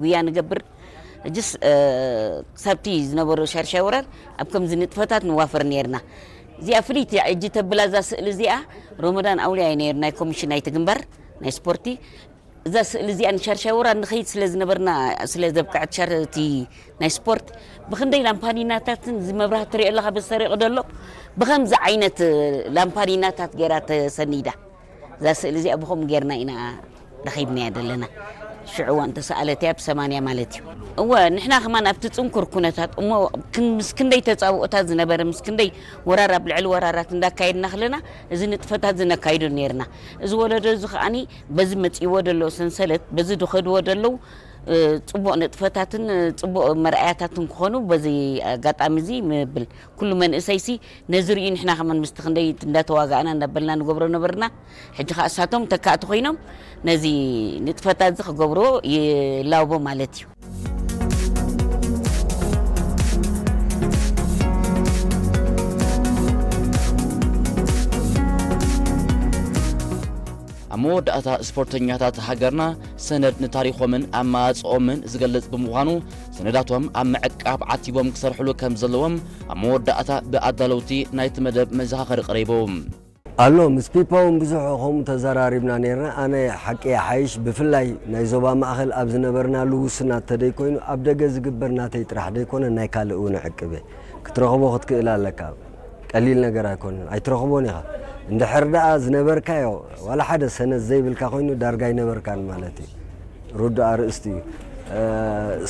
ጉያ ንገብር። ሕጅስ ክሳብቲ ዝነበሩ ሻርሻይ ወራር ኣብ ከምዚ ንጥፈታት ንዋፈር ነርና። እዚኣ ፍልይቲ ሕጂ ተብላ እዛ ስእሊ እዚኣ ሮመዳን ኣውሊያ እዩ ነይሩ ናይ ኮሚሽን ናይቲ ግንባር ናይ ስፖርቲ። እዛ ስእሊ እዚኣ ንሻርሻይ ወራር ንኸይድ ስለ ዝነበርና ስለ ዘብቅዐት ሻርቲ ናይ ስፖርት ብክንደይ ላምፓዲናታትን እዚ መብራህቲ ትሪኦ ኣለኻ በዝተሪቑ ደሎ ብኸምዚ ዓይነት ላምፓዲናታት ገይራ ተሰኒዳ። እዛ ስእሊ እዚኣ ብኸምኡ ጌርና ኢና ረኺብናያ ዘለና። ሽዑ እዋን ተሰኣለት እያ ብሰማንያ ማለት እዩ። እወ ንሕና ከማን ኣብቲ ጽንኩር ኩነታት እሞ ክን- ምስ ክንደይ ተጻብኦታት ዝነበረ ምስ ክንደይ ወራር ኣብ ልዕሊ ወራራት እንዳካየድና ከለና እዚ ንጥፈታት ዝነካይዶ ነርና። እዚ ወለዶ እዚ ከዓኒ በዚ መጺእዎ ደሎ ሰንሰለት በዚ ዝኸድዎ ደለዉ ጽቡቕ ንጥፈታትን ጽቡቕ መርኣያታትን ክኾኑ በዚ ኣጋጣሚ እዚ ምብል ኩሉ መንእሰይሲ ነዚ ርእዩ ንሕና ከመን ምስቲ ክንደይ እንዳተዋጋእና እንዳበልና ንገብሮ ነበርና። ሕጂ ከዓ እሳቶም ተካእቲ ኮይኖም ነዚ ንጥፈታት እዚ ክገብርዎ ይላቦ ማለት እዩ። ኣብ መወዳእታ ስፖርተኛታት ሃገርና ሰነድ ንታሪኾምን ኣመፃፅኦምን ዝገልፅ ብምዃኑ ሰነዳቶም ኣብ ምዕቃብ ዓቲቦም ክሰርሕሉ ከም ዘለዎም ኣብ መወዳእታ ብኣዳለውቲ ናይቲ መደብ መዘኻኸሪ ቀሪቡ። ኣሎ ምስ ፒፓ እውን ብዙሕ ከምኡ ተዘራሪብና ነርና። ኣነ ሓቂ ይሓይሽ ብፍላይ ናይ ዞባ ማእኸል ኣብ ዝነበርናሉ ውሱናት ተደይኮይኑ ኣብ ደገ ዝግበር ናተይ ጥራሕ ደይኮነ ናይ ካልእ እውን ዕቅብ እየ። ክትረኽቦ ክትክእል ኣለካ። ቀሊል ነገር ኣይኮነን ኣይትረኽቦን ኢኻ። እንድሕር ደኣ ዝነበርካዮ ዋላ ሓደ ሰነድ ዘይብልካ ኮይኑ ዳርጋ ኣይነበርካን ማለት እዩ። ርዱእ ኣርእስቲ እዩ።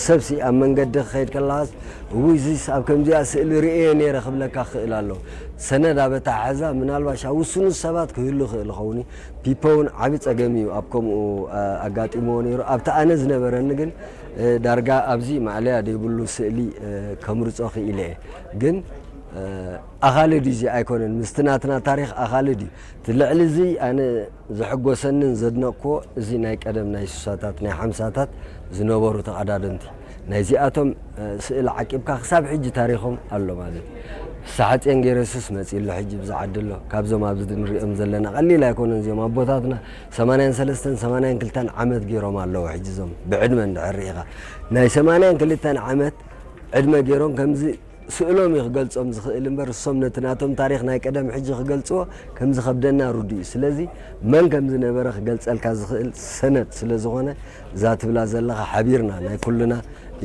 ሰብሲ ኣብ መንገዲ ክኸይድ ከለኻስ እውይ እዚስ ኣብ ከምዚኣ ስእሊ ርእየ ነይረ ክብለካ ክኽእል ኣሎ። ሰነድ ኣብ ኣተሓሕዛ ምናልባሽ ኣብ ውሱኑ ሰባት ክህሉ ይኽእል ይኸውን እዩ። ፒፖ እውን ዓቢ ጸገም እዩ ኣብ ከምኡ ኣጋጢምዎ ነይሩ። ኣብቲ ኣነ ዝነበረኒ ግን ዳርጋ ኣብዚ ማእለያ ዘይብሉ ስእሊ ከምርጾ ክኢለ እየ። ግን ኣኻሊ ድዩ እዚ ኣይኮነን ምስቲ ናትና ታሪኽ ኣኻሊ ድዩ እቲ ልዕሊ እዚ ኣነ ዝሕጎሰንን ዘድነቕክዎ እዚ ናይ ቀደም ናይ ስሳታት ናይ ሓምሳታት ዝነበሩ ተቐዳደምቲ ናይዚኣቶም ስእል ዓቂብካ ክሳብ ሕጂ ታሪኾም ኣሎ ማለት እዩ። ፍስሓጽዮን ገይረሱስ መጺኡ ኣሎ ሕጂ ብዚ ዓዲ ኣሎ። ካብዞም ኣብዚ ንሪኦም ዘለና ቀሊል ኣይኮነን እዚኦም ኣቦታትና ሰማንያን ሰለስተን ሰማንያን ክልተን ዓመት ገይሮም ኣለዉ ሕጂ እዞም ብዕድመ እንድሕር ርኢኻ ናይ ሰማንያን ክልተን ዓመት ዕድመ ገይሮም ከምዚ ስእሎም እዩ ክገልጾም ዝኽእል እምበር እሶም ነቲ ናቶም ታሪኽ ናይ ቀደም ሕጂ ክገልጽዎ ከም ዝኸብደና ርዱእ እዩ። ስለዚ መን ከም ዝነበረ ክገልጸልካ ዝኽእል ሰነድ ስለ ዝኾነ እዛ ትብላ ዘለኻ ሓቢርና ናይ ኩልና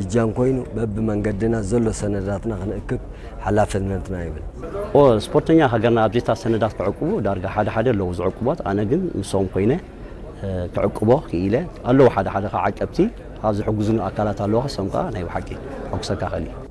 እጃም ኮይኑ በብመንገድና ዘሎ ሰነዳትና ክንእክብ ሓላፍነትና ይብል። ኦ ስፖርተኛ ሃገርና ኣብዚታት ሰነዳት ክዕቅቡ ዳርጋ ሓደ ሓደ ኣለዉ ዝዕቅቦት ኣነ ግን ምሶም ኮይነ ክዕቅቦ ክኢለ ኣለዉ ሓደ ሓደ ከዓ ዓቀብቲ ካብ ዝሕግዙኒ ኣካላት ኣለዉ ከሶም ከዓ ናይ ብሓቂ ሕጉሰካ ክእል እዩ።